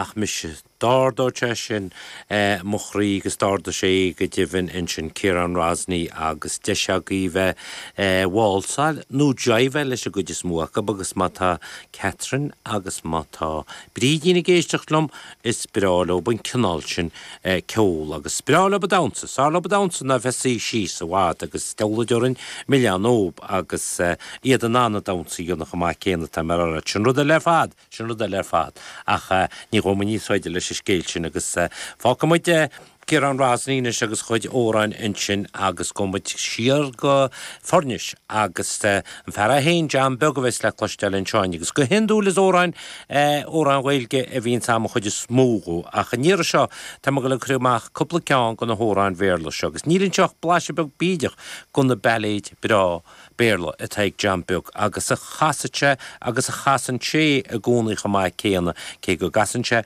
Ach mise, d'ardódh sé sin mo chroí agus d'ardaigh sé é go deimhin ansin, Ciarán Rosney agus deis agaibh bheith ag válsáil nó jiveáil leis an gcuid is mó acu agus má tá Catherine agus má tá Brídín ag éisteacht liom, is breá leo an cineál sin ceol agus is breá leo damhsa, is fearr leo damhsa ná bheith suí síos i bhfad agus deabhal orainn milleán dóibh agus iad in ann an damhsa a dhéanamh chomh maith céanna, tá mé a rá leat, sin rud eile ar fad. Sin rud eile ar fad. Ach ní ghabhfaidh muid níos faide leis an scéal sin agus fágfaidh muid Ciarán Rosney anois agus a chuid amhráin ansin agus gabhfaidh muid siar go Foirnis agus an fear é féin, John Beag a bheas le cloisteáil anseo agus go hiondúil is amhráin, amhráin Ghaeilge a bhíonns a'm an chuid is mó dhó ach an iarraidh seo tá mé ag dul ag cur amach cúpla ceann de na hamhráin Bhéarla seo agus níl anseo ach blaiseadh beag bídeach de na bailéid breá Béarla atá ag John Beag agus a chasadh sé agus a chasann sé i gcónaí chomh maith céanna, cé go gcasann sé.